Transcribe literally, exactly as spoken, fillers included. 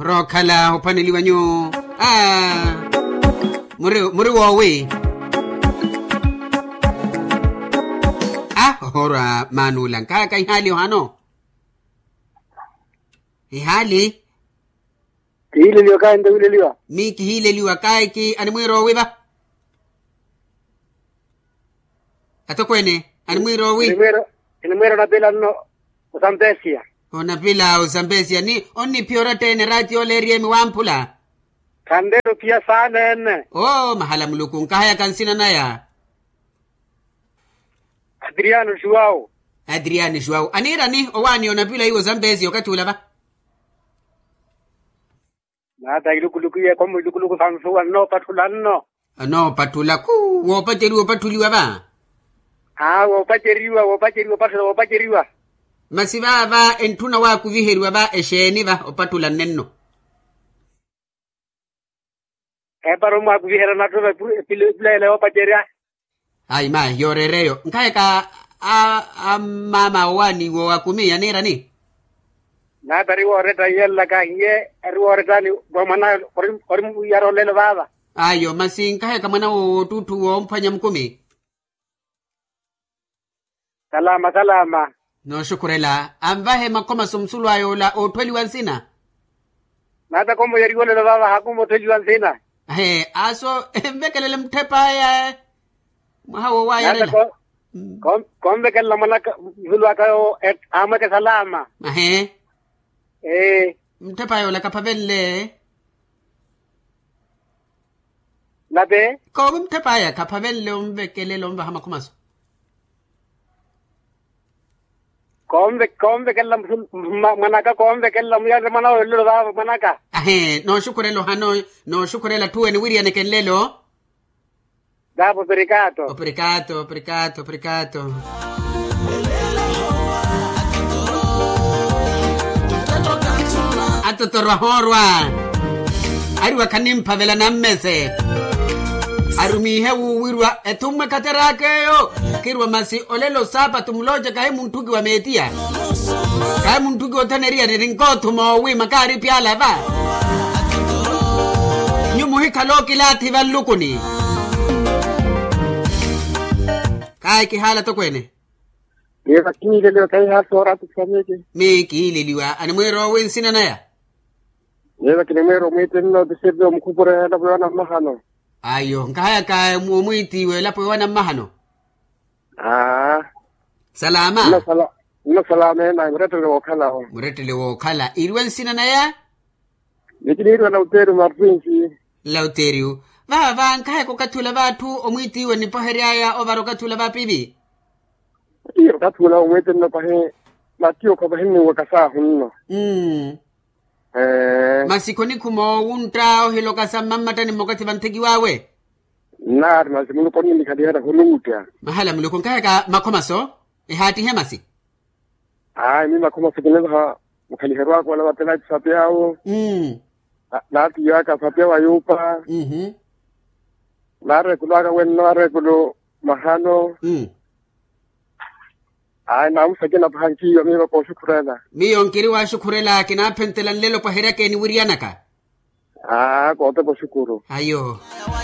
Rookhala ophwaneliwa nyuwo. Aa, muri woowi? Aa, ohoorwa manuula nkaka ihaali ohano. Ihaali. Kihiileliwa kayi nto wiileliwa? Mi kihiileliwa kayi ki animwiira owi va? Atokweene animwiira owi? Kinimwiira onapila nno. Osampesia. Onapila osampesia ni onniphiya oratta-ene eraati yoola eriyemi wamphula. Khanleela ophiya saana ene. Oo mahala muluku nkahayaka nsina naya. Adriano juwau. Adriano juwau aniirani owaani onapila iwo osampesia okathi ula va? Naata ilukuluku iye komu ilukuluku sa nsuwa nnoopatthula nno. Anoopatthula kuu woopaceriwa opatthuliwa va. Aa woopaceriwa woopaceriwa opatthula woopaceriwa. Masi vaava entthuna waakuviheriwa va exeeni va opatthula nnenno? Epara omwaakuviherya natto va epuleyela yoopacerya. Ayi mayi yooreera eyo nkahayaka ammaama owaani woowakumiya aniirani? Naata ari wooretta iye nlaka iye ari woorettani. Mwan'awe ori mwiiyara olelo vaava. Ayo masi nkahayaka mwan'awe woottuttu woomphwanya mukumi. Salama salama. Nooxukhurela anvahe makhomaso musulu aya ola ootthuweliwa nsina. Naata komoyeriwa olelo vaava hakomotthuweliwa nsina. Ahe aso envekelele mutthepa aya. Mwaha woowaayerela. Konvekelela mwanaka musulu aka yoowo amweke salama. Ahe. Ee. Mutthepa yoola kaphavenle. Nape. Koovo mutthepa aya kaphavenle onvekelela onvaha makhumaso. Konvekelela mwanaka konvekelela muyarire mwana woolela ovaava mwanaka. Ahe nooxukhurela ohano. Nooxukhurela atthu ene wiriyaneke nlelo. Daapo operikaato. Operikaato operikaato operikaato. Atotoro ahoorwa. Ariwa khanimphavela nammese. Arumiihe wuwirwa ethummwe khateraka eyo. Khirwa masi olelo saapatu mulooca kahi munthuki wa meetiya. Kahi munthuki othaneriya ni rinkoothu moowi makaari pyala va. Nyu muhikhala okilaathi vanlukuni. Kayi kihaala tokweene. Miiva kihiileliwa kahihaala soora atupsanyeke. Mi kihiileliwa animwiira owi nsina naya? Miiva kinimwiira omwiitini nootisiriri omukhupure elapo yoona mmahano. Ayo nkahayaka omwiitiiwe elapo yoona mmahano. Aa. Salama. Nno salama ena murettele wookhala. Murettele wookhala iriwe nsina naya? Nikiniiriwa lauteriu martinsi. Lauteriu. Vaava nkahayaka okathi ula va atthu omwiitiiwe nnipohery'aya ovara okathi ula va pivi. Iyo okathi ula omwiitinno pahi. Matiyo kho pahi nnuwaka saahu nno. Masi khonikhuma owuntta ohiloka sa mmammattani mmokathi vantthekiw'awe. Nnaari masi muluku onnikhaliherya khuluutta. Mahala muluku nkahayaka makhomaso. Ehaattihe masi. Ayi mi makhomaso kinivaha mukhaliheryo aka ola vate naati sapi awo. Naati iyo aka sapi awo ayuupa. Naareekulu aka wenno areekulu mahano. Ayi naamusakina paha nkiiwa miiva kooxukhurela. Miyo nkiri waaxukhurela kinaaphentela nlelo pwaheryaka eniwiryanaka. Aa kootepa oxukuru. Ayo.